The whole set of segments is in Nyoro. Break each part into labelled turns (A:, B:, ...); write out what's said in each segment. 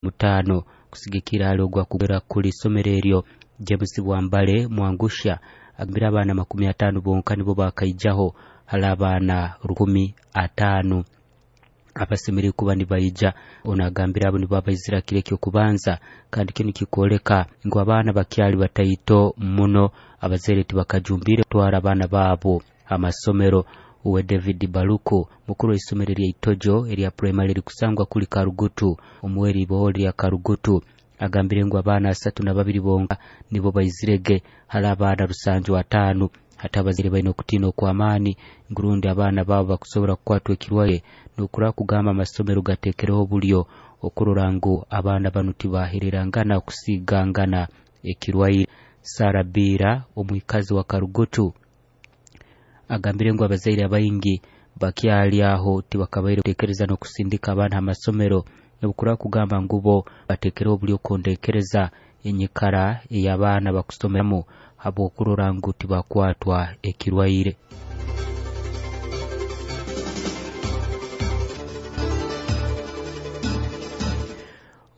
A: Mutaano kusigikira hali ogwakugera kuli isomero eryo. James Bwambale Mwangusha agambire abaana 50 bonka nibo bakaijaho hali abaana 1,050 abasemereire kuba nibaija. Ono agambire abo nibo abaizira kiro ekyokubanza, kandi kinu kikwoleka ngu abaana bakyali bataito muno, abazaire tibakajumbire kutwara abaana baabo amasomero. Uwe David Baluku, mukuru w'isomero erya Itojo erya primary erikusangwa kuli Karugutu omuweri iboho lya Karugutu, agambire ngu abaana 32 bonka nibo baizirege hali abaana 750. Hati abazaire baine okutiina okw'amaani ngu rundi abaana baabo bakusobora kukwatwa ekirwaire, n'okura kugamba amasomero gateekereho obulyo okurora ngu abaana banu tibahererangana kusigangana ekirwaire. Sara Biira, omwikazi wa Karugutu, agambire ngu abazaire abaingi bakyali aho tibakabaire kuteekereza n'okusindika abaana ha masomero, n'obukura kugamba ngu bo bateekereho obulyo okondekereza enyikara ey'abaana bakusomeramu habw'okurora ngu tibakwatwa ekirwaire.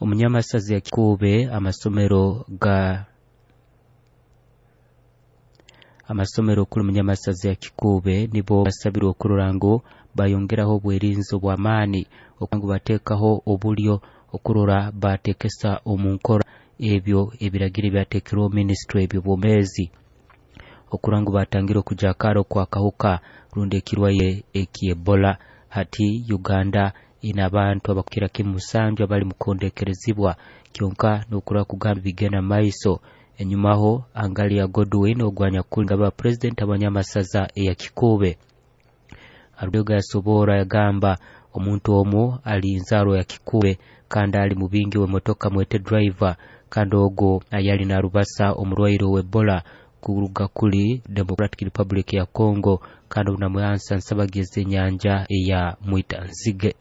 A: Omunyamasazi ya Kikuube, amasomero ga amasomero kuli munyamasazi ya Kikuube nibo basabirwe okurora ngu bayongeraho obwerinzi obw'amaani, ngu bateekaho obulyo okurora bateekesa omu nkora ebyo ebiragiro ebyateekerweho minisitule eby'obwomeezi, okurora ngu batangire okujakara okwakahuka rundi ekirwaire eky'Ebola. Hati Uganda ina abantu abakukira kimu 7 abali mukondekerezibwa, kyonka n'okurora kugamba bigenda maiso. Enyumaho Angalia Godwin ogwanyakuli nga ba president abanyamasaza eya Kikuube Arubega yasobora yagamba omuntu omu ali nzarwa ya Kikuube kandi ali mubingi w'emotoka mwete driver, kandi ogwo ayali narubasa omurwaire w'Ebola kuruga kuli Democratic Republic ya Congo, kandi obunamwehansa nsabageze enyanja eya Mwitanzige.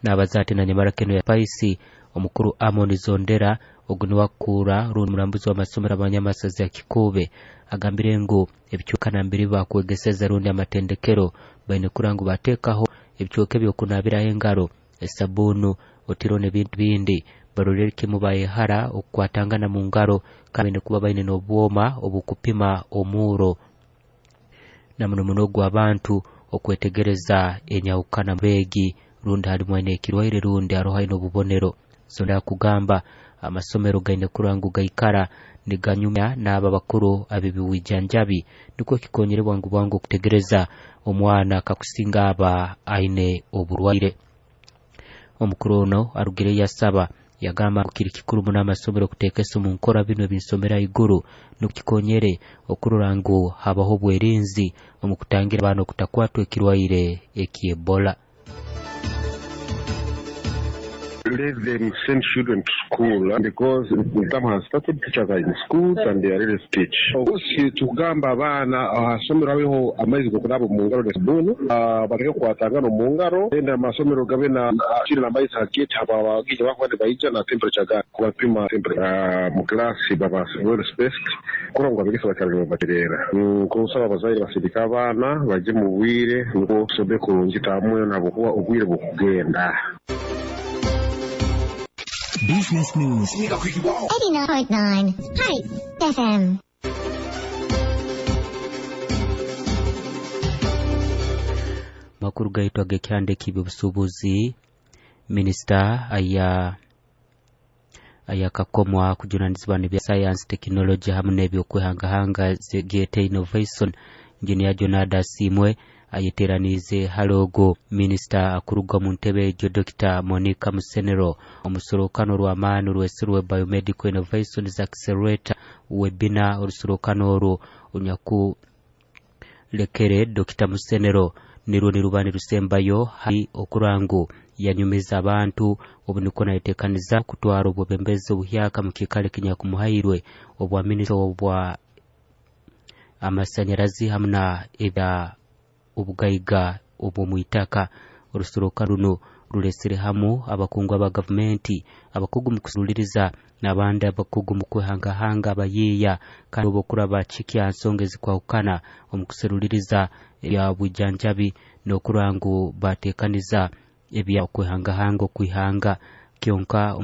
A: N'abaza ati na nyamara keno ya Paisi omukuru Amon Zondera ogu niwakura rundi murambuzi w'amasomero abanyamasazi ya Kikuube agambire ngu ebicweka nambere bakwegeseza rundi amatendekero baine kurora ngu bateekaho ebicweka ebyokunaabiraho engaro, esabunu, otiro n'ebintu bindi, barorere kimu bayehara okukwatangana mu ngaro, kandi baine kuba baine n'obwoma obukupima omuuro na muno muno ogw'abantu okwetegereza enyahukana beegi rundi halimu aine ekirwaire rundi haroho aine obubonero. Zondera kugamba amasomero gaine kurora ngu gaikara niganyumya n'abo abakuru ab'eby'obwijanjabi, nukwo kikonyere bwangu bwangu okutegereza omwana kakusinga aba aine oburwaire. Omukuru ono arugire yasaba yagamba ngu kiri kikuru muno amasomero kuteekesa omu nkora binu ebinsomera haiguru, nukwo kikonyere okurora ngu habaho obwerinzi omu kutangira abaana okutakwatwa ekirwaire eky'Ebola.
B: Let them send children to school because the term has started, teachers are in schools and they are ready to teach. Obusi tukugamba abaana ahasomero habeho amaizi g'okunaaba omu ngaro n'esabuuni, baleke kukwatangana omu ngaro, then amasomero gabe na kiri n'amaizi ha gate abagenyi bakuba nibaija na temperature gun kubapima temperature. Mu class baba well spaced kurora ngu abegesa bakyali nibabatereera. Nkusaba abazaire basindike abaana baje mu bwire nukwo tusome kurungi tamwe habwokuba obwire bukugenda.
C: Business News
D: 89.9 Hype FM.
A: Makuru gaitu ag'ekyanda eky'ebyobusuubuzi, minisita ayakakomwa kujunanizibwa n'ebya science, technology hamu n'ebyokwehangahanga gyete innovation, Engineer Jonard Asiimwe ayeteraniize hali ogwo minisita akuruga omu ntebe egyo Dr. Monica Musenero omusorokano rw'amaani rwesirwe Biomedical Innovations Accelerator webinar. Orusorokano orwo onyakulekere Dr. Musenero nirwo niruba nirusembayo hali okurora ngu yanyumiza abantu, obu nikwo nayetekaniza kutwara obwebembezi obuhyaka mu kiikaro ekinyakumuhairwe obwa minisita obwa amasanyarazi hamu na ebya obugaiga obw'omwitaka. Orusorokano runo rulesere hamu abakungu aba gavumenti, abakugu mu kusuliriza n'abandi abakugu mu kwehangahanga abayiiya, kandi obokuraba kikya nsonga ezikwahukana omu kuseruliriza ebya bwijanjabi n'okurora ngu bateekaniza ebya okwehangahanga okwihanga. Kyonka.